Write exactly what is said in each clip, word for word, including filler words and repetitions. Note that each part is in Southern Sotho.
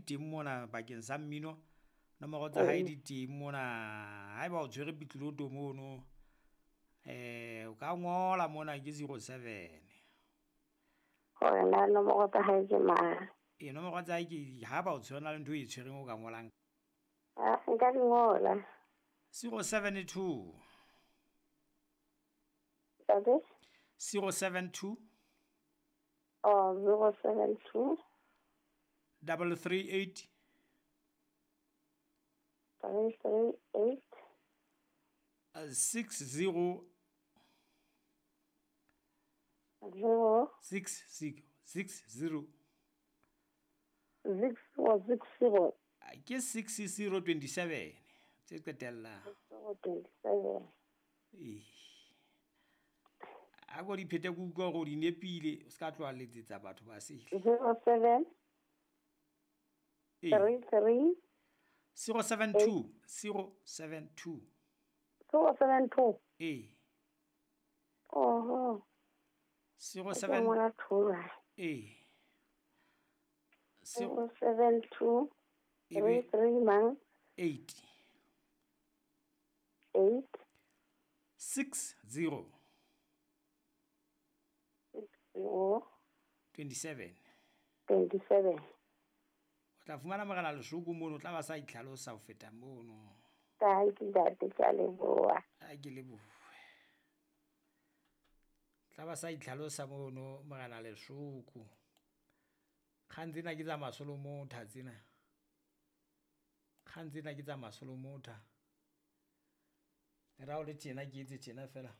teng mona bakeng sa mmino. Nomoro tsa hae di teng mona. Haeba o tshwere pitloto mono, eh o ka ngola mona ke zero seven. Hore na nomoro tsa hae ke mang? E nomoro tsa hae ke ha ba o tshwere na le ntho e tshwereng o ka ngolang. Ah, nka di ngola. zero seven two. Ntate? zero seven two. Oh, zero seven two. Double three eight. Three three eight. Uh, six zero. Zero. Six six six zero. Six zero six zero. Ke six zero twenty seven. Tse qetellang. Zero twenty seven. Eh. A go di phete ke utlwa hore o di nepile, o ska tloha letsetsa batho ba sele. Zero seven. Eh. Three three. Zero seven two. Zero seven two. Zero seven two. Eh. Oho. Zero seven. Eh. Zero seven two. Three three mang. Eight. Eight. Six zero. Six zero. Twenty seven. Twenty seven. O tla fumana morena Leshoko mono, o tla ba sa itlhalosa ho feta mono. Thank you, ntate, ke a leboha. A ke lebohe. Tla ba sa itlhalosa mono morena Leshoko. Kgang tsena ke tsa masolomotha tsena. Kgang tsena ke tsa masolomotha. Le ra o le tjena ke etse tjena fela.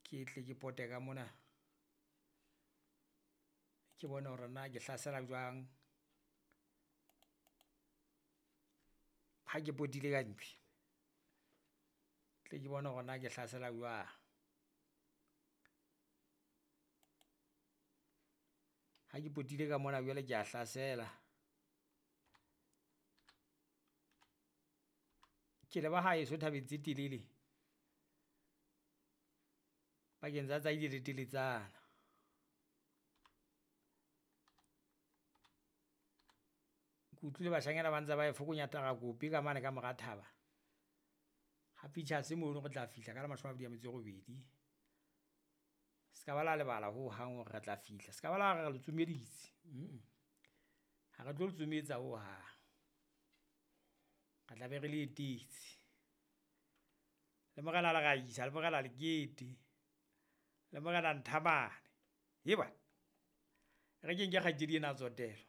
Ke tle ke pote ka mona. Ke bone hore na ke hlasela jwang. Ha ke potile ka ntle. Tle ke bone hore na ke hlasela jwang. Ha ke potile ka mona jwale ke a hlasela. Ke leba haeso thabeng tse telele. Pakeng tsa tsa ile le teletsana. Ke utlwile bashanyana ba ntse ba e fokonya tarakopi ka mane ka mora thaba. Ha pictures mono re tla fihla ka la mashome a mabedi a metso e robedi. Se ka ba la lebala ho hang hore re tla fihla. Se ka ba la re le tsomeditse. Mm. Ha re tlo le tsometsa ho hang. Re tla be re le etetse. Le morena le Raisa, le morena Lekete, le morena Nthamane. Eba. Re ke nke kgaitsedi ena Tsotelo.